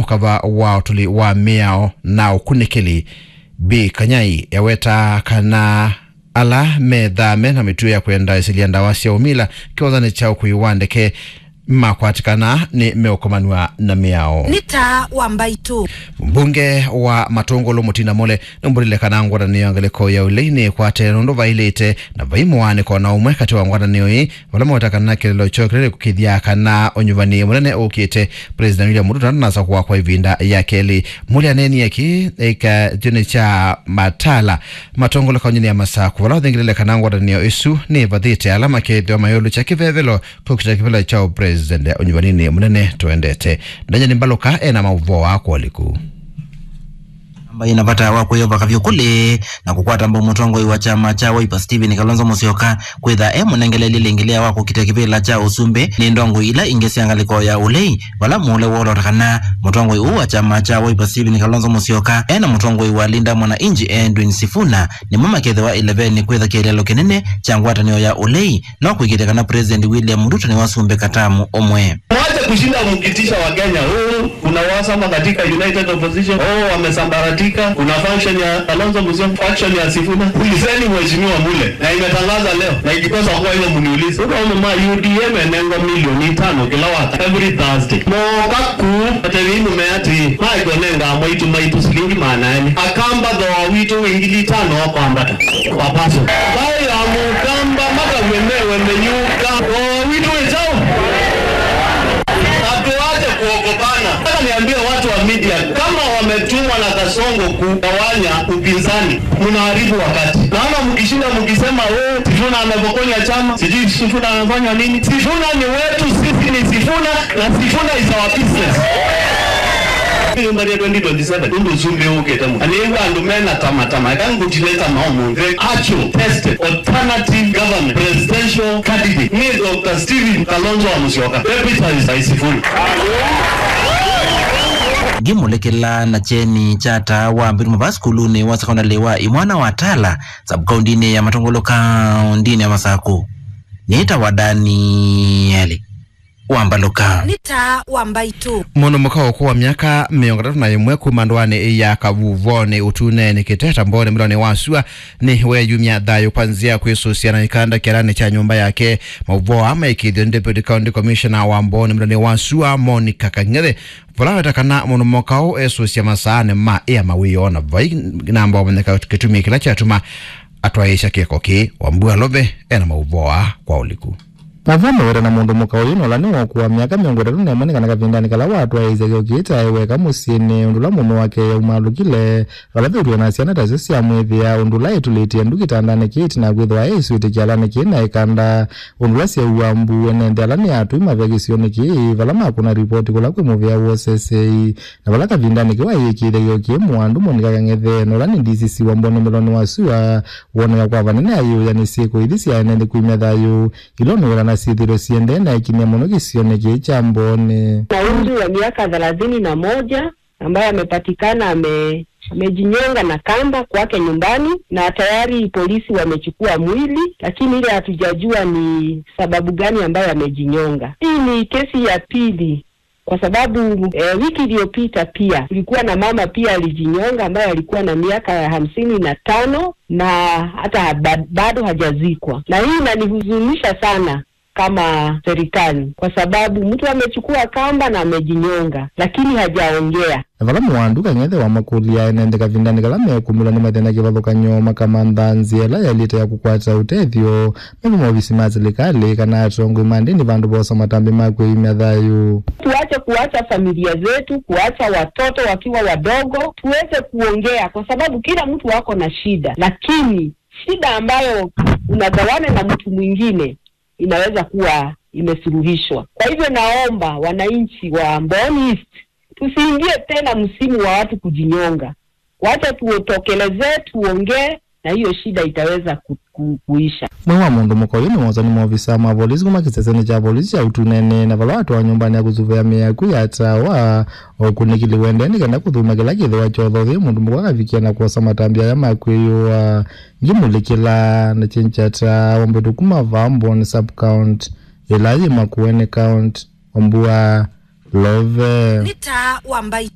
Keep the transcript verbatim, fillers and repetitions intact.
kava wa ũtũli wa mĩao na ũkunĩkĩli. Bi Kanyai ewetaa kana ala methaa me na mĩtuo ya kwenda ĩsilya ndawa sya ũmila kĩwanzanĩ kya ũkui wa ndeke makwatĩkana nĩ meũkomanw'a na mĩao. Nĩ taa wa mbaitũ. Mbunge wa Matũngũlũ Mũtina Mule nũmbũlile kana ngwatanĩo ya ngalĩko ya ũlei nĩkwate nũndũ vailĩte na vai mũaanĩko na ũmwe katĩ wa ngwatanĩo ii vala maweta kana kĩlĩlo kyoo kĩla kĩkũkĩthya kana ũnyuvani mũnene ũkĩte. President William Ruto ndanasakũa kwa ĩvinda ya kelĩ. Mule aneenie kĩĩ ĩkathĩnĩ kya Matala Matũngũlũ kaũntĩnĩ ya Masakũ vala ũthingĩlĩle kana ngwatanĩo ĩsu nĩvathĩte ala makethĩwa mayũlũkya kĩvevelo kũkita kĩvevelo kya ũpresident ũnyuvaninĩ mũnene tũendete. Daniel Mbalũka ena maũvoo aa kwa ũliku. Namba ĩna vata wa kwĩyova kavyũ kũlĩ na kũkwata mbau mũtongoi wa kyama kya Wiper Stephen Kalonzo Musyoka kwĩtha e mũnengeleli lĩngĩlĩa wa kũkita kĩvĩla kya ũsumbĩ nĩ ndongoi ila ingĩ sya ngalĩko ya ũlei, vala Mule wolota kana mũtongoi ũũ wa kyama kya Wiper Stephen Kalonzo Musyoka ena mũtongoi wa Linda Mwananchi Edwin Sifuna nĩmo makethĩwa ĩlevenĩ kwĩtha kĩeleelo kĩnene kya ngwatanĩo ya ũlei. No kũĩkĩĩthya kana President William Ruto nĩwasumbĩka tamu ũmwe. Mwache kushinda mkitisha Wakenya, "Oh, kuna uhasama katika United Opposition, oh, wamesambaratika, kuna faction ya Kalonzo Musyoka, faction ya Sifuna." Ulizeni Mheshimiwa Mule, na imetangaza leo, na ikikosa kuwa hivyo mniulize. Unaona ma U D M enengwa milioni tano kila waka, every Thursday. Moka kuu, atevei mume ati, "Maikonenga mwaitu maitu silingi maana elĩ." Akamba thooa witũ wĩ ngili itano wa kwambata. Wapaso. Vai ya Mũkamba matavye mewe meyuka. Thooa witũ wĩ kyaũ? Na tuache kuogopana. Nataka niambie watu wa media, kama wametumwa na Kasongo kugawanya upinzani, mnaharibu wakati. Naona mkishinda mkisema, "Oh, Sifuna amepokonya chama, sijui Sifuna amefanya nini." Sifuna ni wetu, sisi ni Sifuna, na Sifuna is our business. Nyũmba ya twenty twenty-seven, ũndũ ũsumbĩ ũkĩte mũno. Na nĩw'a andũ mena tamatama, eka ngũtileta maũmũnthĩ. Actual, tested, alternative government, presidential candidate, nĩ Doctor Stephen Kalonzo wa Musyoka, deputized by Sifuna. Ngimũlĩkĩla na kyeni kya taa wa mbĩtũma va sukulunĩ wa sekondalĩ wa Imwana wa Tala, sub-kaũntĩnĩ ya Matũngũlũ, kaũntĩnĩ ya Masakũ. Nĩtawa Danieli Wambalũka. Nĩ taa wa mbaitũ. Mũndũ mũka ũkũũ wa myaka mĩongo ĩtatũ na ĩmwe kuma ndũanĩ ya Kavuvonĩ Ũtunenĩ Kĩteta Mbonĩ Mĩlonĩ wa Sua nĩ weeyumya thayũ kwa nzĩa ya kwĩsũsya na ĩkanda kĩalanĩ kya nyũmba yake. Maũvoo aa maĩkĩĩthw'e nĩ Deputy County Commissioner wa Mbonĩ Mĩlonĩ wa Sua, Monica Kang'ethe, vala weta kana mũndũ mũka ũũ esũsya masaanĩ ma ĩa mawĩoo na vai namba wamenyeka kĩtumi kĩla kyatuma atwaĩĩsya kĩko kĩĩ. Wambua Love ena maũvoo aa kwa ũliku. Maũvoo meweta na mũndũ mũka ũyũ nũla nĩ wa ũkũũ wa myaka mĩongo ĩtatũ na ĩmwe nĩ kana kavindanĩ kala watwaĩĩsya kĩko kĩĩ taĩ weka mũsyĩnĩ, ũndũ ũla mũũme wake aumalũkile vala ve ũtwĩe na syana tasyo syamwĩthĩa, ũndũ ũla etũlĩtye ndu kĩtandanĩ kĩĩ ĩtina wa kwĩthĩwa eĩswĩtĩ kĩalanĩ kĩĩ na ĩkanda, ũndũ ũla syaua mbu ene nthĩ ala nĩ atũi mavya kĩsionĩ kĩĩ vala makũna ripoti kũla kwĩ mũvĩa wa ũseseei. Na vala kavindanĩ kĩu ayĩkĩĩthya kĩko kĩĩ mũandũ Monica Kang'ethe, na ũla nĩ D C C wa Mbonĩ Mĩlonĩ wa Sua, woneka kwa vanene ayĩũya nĩ syĩko ithi sya ene nthĩ kwĩmya thayũ, ila ũnũwĩla na syĩthĩĩtwe siendee na ĩkinya mũno kĩsionĩ kĩĩ kya Mbonĩ. Na umri wa miaka thelathini na moja, ambaye amepatikana ame-, amejinyonga na kamba kwake nyumbani, na tayari polisi wamechukua mwili, lakini ile hatujajua ni sababu gani ambayo amejinyonga. Hii ni kesi ya pili. Kwa sababu, eh, wiki iliyopita pia kulikuwa na mama pia alijinyonga ambaye alikuwa na miaka ya hamsini na tano na hata ba-, bado hajazikwa. Na hii inanihuzunisha sana kama serikali, kwa sababu mtu amechukua kamba na amejinyonga, lakini hajaongea. Na vala mũandũ Kang'ethe wamakũlya ene nthĩ kavindanĩ kala mekumĩlwa nĩ mathĩna kĩvathũkany'o, makamantha nzĩa ĩla yaĩlĩte ya kũkwata ũtethyo, meve maovisi ma silikalĩ kana atongoi ma ndĩni vandũ vosa matambya ma kwĩimya thayũ. Tuache kuacha familia zetu, kuacha watoto wakiwa wadogo, tuweze kuongea, kwa sababu kila mtu ako na shida, lakini shida ambayo unagawana na mtu mwingine inaweza kuwa imesuluhishwa. Kwa hivyo, naomba wananchi wa Mboni East tusiingie tena msimu wa watu kujinyonga. Wacha tutokelezee, tuongee, na hiyo shida itaweza ku-, ku-, kuisha. Mwĩĩ wa mũndũ mũka ũyũ nĩwooswa nĩ maovisa ma volisi kuma kĩsesenĩ kya volisi kya Ũtunenĩ, na vala watwawa nyũmbanĩ ya kũsuvĩa mĩĩ yaku yatawa, ũkunĩkĩli ũendee nĩ kenda kũthũmya kĩla kĩthĩwa kyothothie mũndũ mũka akavikia na kwosa matambya aya ma kwĩyũa. Ngimũlĩkĩla na kyeni kya taa wa mbĩtũ kuma vaa Mboni sub-county, ĩla yĩ Makueni County, Wambua Love. Nĩ taa wa mbaitũ.